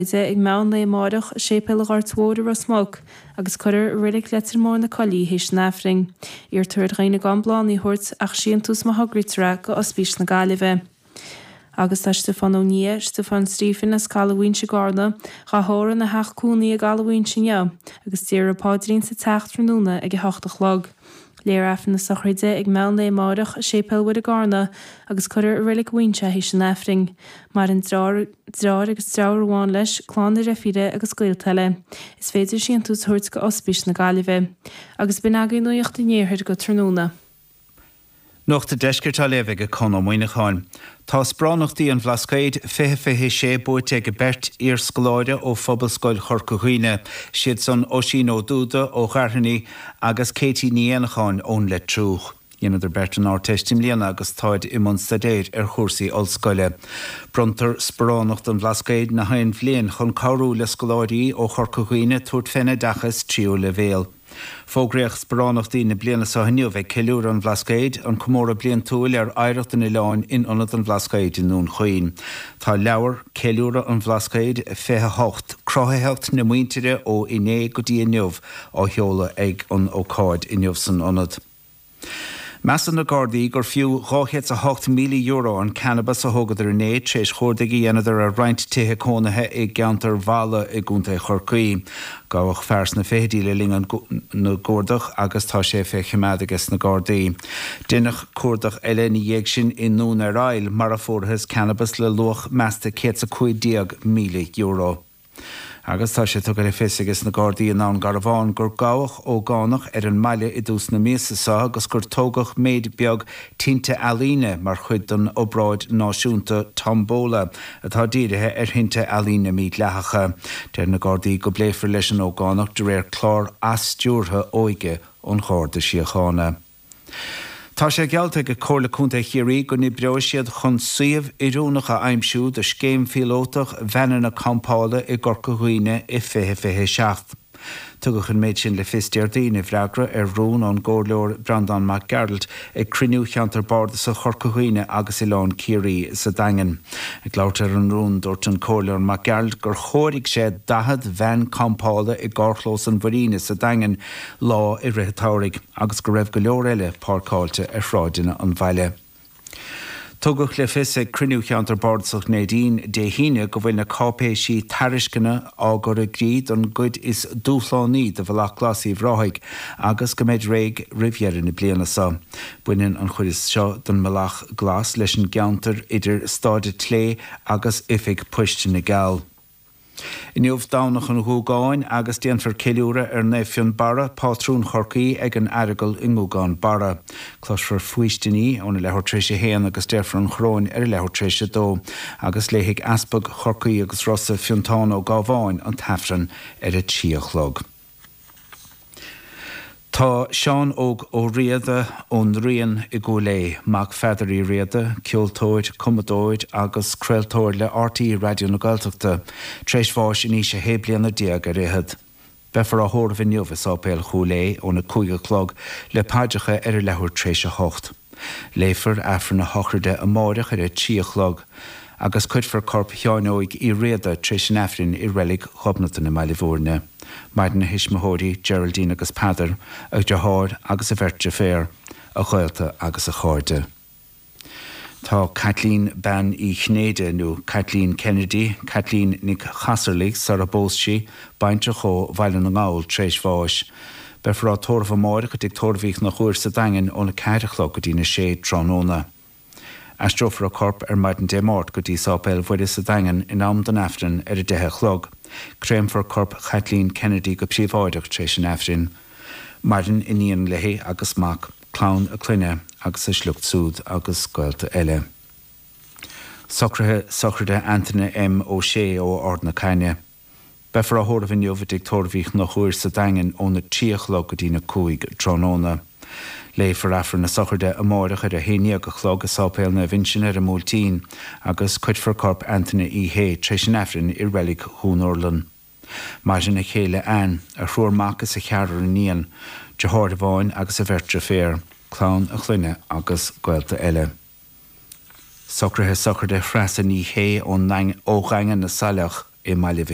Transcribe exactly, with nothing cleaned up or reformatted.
ag meán lae amárach i Séipéal an Ghoirt Mhóir i Ros Muc agus cuirfear i Reilig Leitir Móir na Coillí théis an Aifrinn. Iarrtar ar dhaoine gan bláthanna a thabhairt ach síntiús má thograítear é go Ospís na Gaillimhe. Agus tá Stiofán Ó Nia, Stiofán Stephen as Caladh Mhaínse i gCarna, dhá thórramh ina theach cónaí i gCaladh Mhaínse inniu agus déarfar paidrín sa teach tráthnóna ag a hocht a chlog. Léifear Aifreann na sochraide ag meán lae amárach i Séipéal Mhuire i gCarna agus cuirfear i Reilig Mhaínse théis an Aifrinn. Maireann deartháir agus deirfiúr amháin leis, clann a dheirfíre agus gaolta eile. Is féidir síntiús a thabhairt go Ospís na Gaillimhe. Agus b'in agaibh nuacht an iarthair go tráthnóna. Nuacht an Deiscirt á léamh ag Conn Ó Muíneacháin. Tá sparánachtaí an Bhlascaoid fiche fiche sé buaite ag beirt iarscoláire ó Phobalscoil Chorca Dhuibhne, siad san Oisín Ó Dúda ó Ghairthní agus Katie Ní Éanacháin ón Leitriúch. Dheineadar beirt an Ardteist i mbliana agus táid i mbun staidéir ar chúrsaí ollscoile. Bronntar sparánacht an Bhlascaoid na haon bhliain chun cabhrú le scoláirí ó Chorca Dhuibhne tabhairt fén oideachas tríú leibhéal. Fógraíodh sparánachtaí na bliana seo inniu ag Ceiliúradh an Bhlascaoid, an comóradh bliantúil ar oidhreacht an oileáin in Ionad an Bhlascaoid i nDún Chaoin. Tá leabhar Ceiliúradh an Bhlascaoid fiche a hocht, Cruthaitheacht na Muintire ó Inné go dtí Inniu á sheoladh ag an ócáid inniu san ionad. Measann na Gardaí gur fiú dhá chéad 's a hocht míle euro an cannabas a thógadar inné tar éis chuardaigh a dhéanadar ar roinnt tithe cónaithe i gceantar Mhala i gContae Chorcaí. Gabhadh fear sna fichidí le linn na gcuardach agus tá sé fé choimeád aige sna Gardaí. Deineadh cuardach eile ina dhiaidh sin i nDún ar Aill mar a fuarthas cannabas le luach measta céad 's a cúig déag míle euro. Agus tá sé tugtha le fios aige na Gardaí i nDún Garbhán gur gabhadh ógánach ar an mbaile i dtús na míosa seo agus gur tógadh méid beag tinte ealaíne mar chuid den obráid náisiúnta Tombola atá dírithe ar thinte ealaíne mídhleathacha. Deir na Gardaí go bpléifear leis an ógánach de réir clár athstiúrtha óige an Gharda Síochána. Tá sé geallta ag Comhairle Contae Chiarraí go n-oibreoidh siad chun suíomh oiriúnach a aimsiú do scéim phíolótach veaineanna campála i gCorca Dhuibhne i fiche fiche seacht. Tugadh an méid sin le fios Déardaoin i bhfreagra ar rún ón gComhairleoir Breandán Mac Gearailt ag cruinniú cheantar bardasach Chorca Dhuibhne agus Oileán Ciarraí sa Daingean. Ag labhairt ar an rún, dúirt an Comhairleoir Mac Gearailt gur chomhair sé daichead veain campála i gcarrchlós an Mhuiríne sa Daingean lá i rith an tsamhraidh agus go raibh go leor eile páirceáilte ar shráideanna an bhaile. Tugadh le fios ag cruinniú cheantar bardasach Neidín Dé hAoine go bhfuil na cáipéisí tairisceana á gcur i gcrích don gcuid is dúshlánaí de Bhealach Glas Uíbh Ráthaigh agus go mbeidh réidh roimh dheireadh na bliana seo. Baineann an chuid seo den mBealach Glas leis an gceantar idir Staid an tSlé agus Oifig Poist na gCeall. Inniu Domhnach an Ghúgáin agus déanfar ceiliúradh ar Naomh Fionnbarra, pátrún Chorcaí, ag an Aireagal i nGúgán Barra. Cloisfear faoistiní óna leathuair tar éis a haon agus déarfar an choróin ar a leathuair tar éis a dó agus léifidh Easpag Chorcaí agus Rossa Fionntán Ó Gábháin an tAifreann ar a trí a chlog. Tá Seán Óg Ó Riada ón nDrian i gCúil Aodha, mac Pheadair Uí Riada, ceoltóir, cumadóir agus craoltóir le RTÉ Raidió na Gaeltachta, tar éis bháis in aois a shé bliana déag ar fhichead. Beifear á thórramh inniu i Sáipéal Chúil Aodha óna cúig a chlog le paidreacha ar a leathuair tar éis a hocht. Léifear Aifreann a shochraide amáireach ar a trí a chlog agus cuirfear corp Sheáin Óig Uí Riada tar éis an Aifrinn i reilig Ghobnatan i mBaile Bhúirne. Maireann a thuismitheoirí, Geraldine agus Peadar, a dheartháir agus a bheirt deirféar, a ghaolta agus a chairde. Tá Caitlín Bean Uí Chinnéide nó Caitlín Kennedy, Caitlín Nic Chasarlaigh sara bpós sí, baintreach ó Bhaile na nGall tar éis bháis. Beifear á tórramh amáireach i dTigh Tórraimh Uí Chonchúir sa Daingean óna ceathair a chlog go dtína sé tráthnóna. Aistreofar a corp ar maidin Dé Máirt go dtí Sáipéal Mhuire sa Daingean in am don Aifreann ar a deich a chlog. Créamfar corp Chaitlín Kennedy go príobháideach tar éis an Aifrinn. Maireann iníon léi agus mac, clann a clainne agus a sliocht súd agus gaolta eile. Socruithe sochraide Antaine M. Ó Sé ó Ard na Caithne. Beifear á thórramh inniu i dTigh Tórraimh Uí Chonchúir sa Daingean óna trí a chlog go dtína cúig tráthnóna. Léifear Aifreann na sochraide amáireach ar a haon déag a chlog i Sáipéal Naomh Uinseann ar an mBuailtín agus cuirfear corp Antaine Uí Shé tar éis an Aifrinn i reilig Dhún Urlann. Maireann a chéile Anne, a thriúr mac is a cheathrar iníon, deartháir amháin agus a bheirt deirféar, clann a chlainne agus gaolta eile. Socruithe sochraide Threasa Ní Shé ó Dhaingean na Saileach i mBaile Mhic